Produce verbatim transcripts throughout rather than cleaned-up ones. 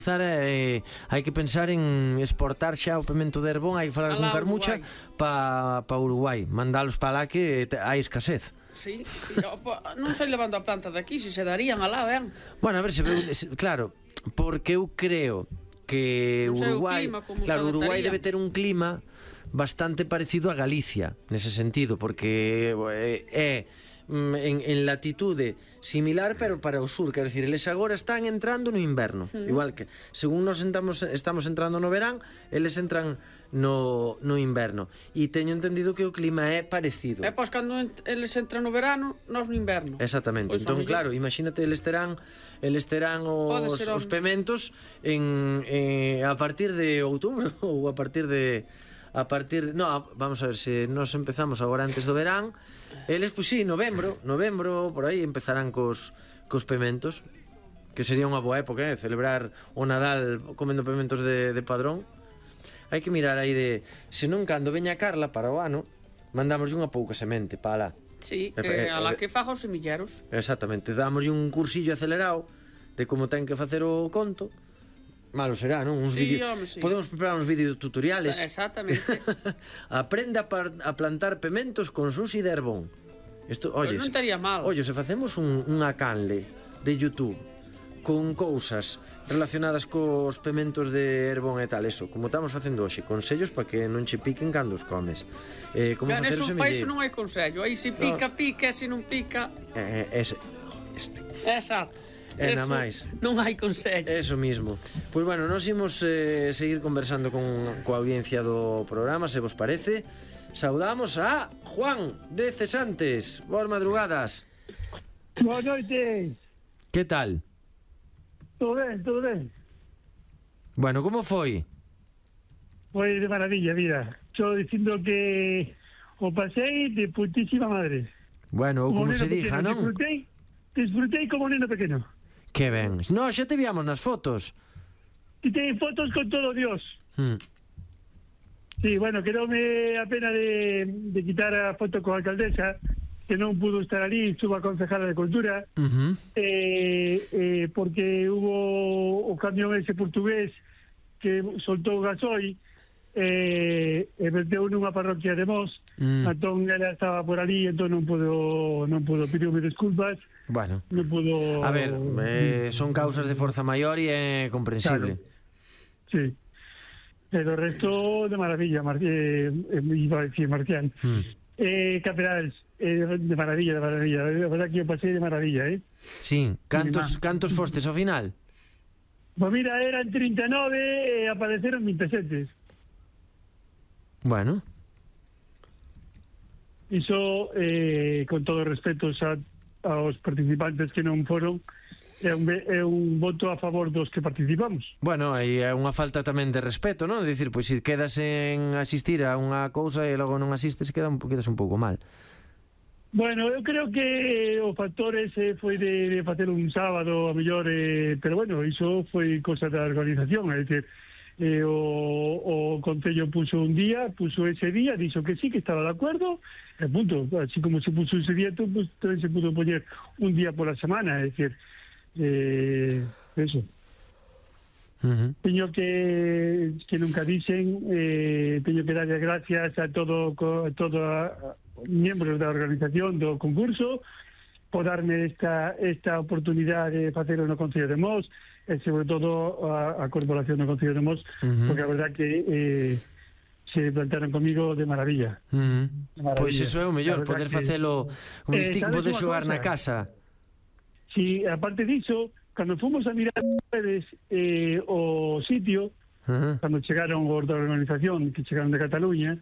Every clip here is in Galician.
Eh, hai que pensar en exportar xa o pemento de Herbón, hai que falar con Carmucha para pa Uruguai, mandalos para lá que te, hai escasez. Sí, non sei levando a planta de aquí, se se darían alá, ben. Bueno, a ver, se, claro, porque eu creo que non Uruguai, clima, claro, Uruguai debe ter un clima bastante parecido a Galicia, nese sentido, porque é En, en latitude similar pero para o sur, quero dicir, eles agora están entrando no inverno, mm. igual que según nos estamos, estamos entrando no verán, eles entran no, no inverno, e teño entendido que o clima é parecido. E pois cando eles entran no verano, nós no inverno. Exactamente, pois entón claro, imagínate, eles terán eles terán os, os pementos en, eh, a partir de outubro ou a partir de a partir de, no, vamos a ver, se nos empezamos agora antes do verán, eles, pois sí, novembro, novembro, por aí empezarán cos, cos pementos, que sería unha boa época, eh, celebrar o Nadal comendo pementos de, de padrón. Hai que mirar aí de, se non cando veña Carla para o ano, mandamos unha pouca semente para lá. Sí, que a la que faja os semilleros. Exactamente, damos un cursillo acelerado de como ten que facer o conto. Malo será, non? Uns sí, vídeo... home, sí. Podemos preparar uns videotutoriales. Exactamente. Aprende a, par... a plantar pementos con Susi de Herbón. Isto, oye, non estaría mal. Oye, se facemos un, unha canle de YouTube con cousas relacionadas cos pementos de Herbón e tal, eso, como estamos facendo hoxe, consellos para que non che piquen cando os comes. Eh, como facer o semilleiro. Iso non hai consello, aí se pica, no. pica, se non pica... Eh, ese... Este. Exacto. E na máis. Non hai consello. Eso mismo. Pois bueno, nos imos eh, seguir conversando con coa audiencia do programa, se vos parece. Saudamos a Juan de Cesantes. Boas madrugadas. Boas noites. Que tal? Todo ben, todo ben. Bueno, como foi? Foi de maravilla, mira. Só dicindo que o pasei de putísima madre. Bueno, ou como, como se diga, non? Disfrutei, disfrutei como neno pequeno. Que ben. No, xa te víamos nas fotos. E te fotos con todo Dios. Hmm. Sí, bueno, quedoume a pena de, de quitar a foto con a alcaldesa, que non pudo estar ali, estuvo a concejala de Cultura, uh-huh. eh, eh, porque hubo o camión ese portugués que soltou gasoil, eh, e verteu nunha parroquia de Mos, mm. entón ela estaba por ali, entón non pudo, non pudo, pediume disculpas. Bueno, non pudo... a ver, eh, son causas de forza maior e é comprensible. Claro. Sí. Pero o resto de maravilla, Mar eh, iba a decir Marcial. Mm. Eh, Caperals, eh, de maravilla, de maravilla. La verdad que eu pasei de maravilla, eh? Sí, cantos, cantos fostes ao final? Pues mira, eran treinta e nove e apareceron veintisiete. Bueno. Iso, eh, con todo respeto a, aos participantes que non foron, é un, é un voto a favor dos que participamos. Bueno, aí é unha falta tamén de respeto, non? Dicir, pois se quedas en asistir a unha cousa e logo non asistes, queda un, quedas un pouco mal. Bueno, eu creo que o factor ese foi de, de facer un sábado a mellor, eh, pero bueno, iso foi cosa da organización, é dicir, eh, o, o Concello puso un día, puso ese día, dixo que sí, que estaba de acuerdo, e punto, así como se puso ese día, pues, tamén se pudo poñer un día por la semana, é dicir, eh, eso. Uh-huh. Teño que que nunca dicen, eh, teño que darle gracias a todo a todo a, miembros da organización do concurso por darme esta esta oportunidade de facelo no Concello de Mos e sobre todo a, a corporación do Concello de Mos, uh-huh. porque a verdad que eh, se plantaron comigo de maravilla. Uh-huh. De maravilla. Pois iso é o mellor, poder que, facelo como eh, distinto, poder xogar na casa. Si, sí, aparte diso, cando fomos a mirar eh, o sitio, uh-huh. cando chegaron os da organización que chegaron de Cataluña,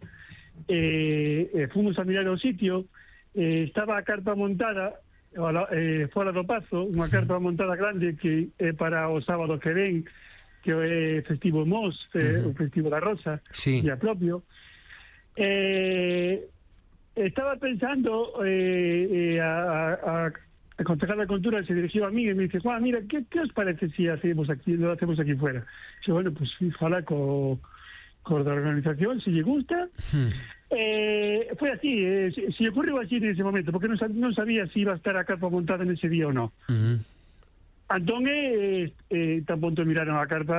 eh, eh, fomos a mirar o sitio, eh, estaba a carpa montada eh, fora do Pazo, unha carpa montada grande que é para o sábado que ven, que é festivo Mos, eh, uh-huh. o festivo da Rosa, sí. e a propio. Eh, estaba pensando eh, eh, a, a el concejal de Cultura se dirigió a mí y me dice, Juan, mira, ¿qué, qué os parece si hacemos aquí, lo hacemos aquí fuera? Yo, bueno, pues ojalá con, con la organización, si le gusta. Hmm. Eh, fue así, eh, se, se ocurrió así en ese momento, porque no, no sabía si iba a estar a carpa montada en ese día o no. Uh-huh. Entón, eh, eh, tan punto miraron a carta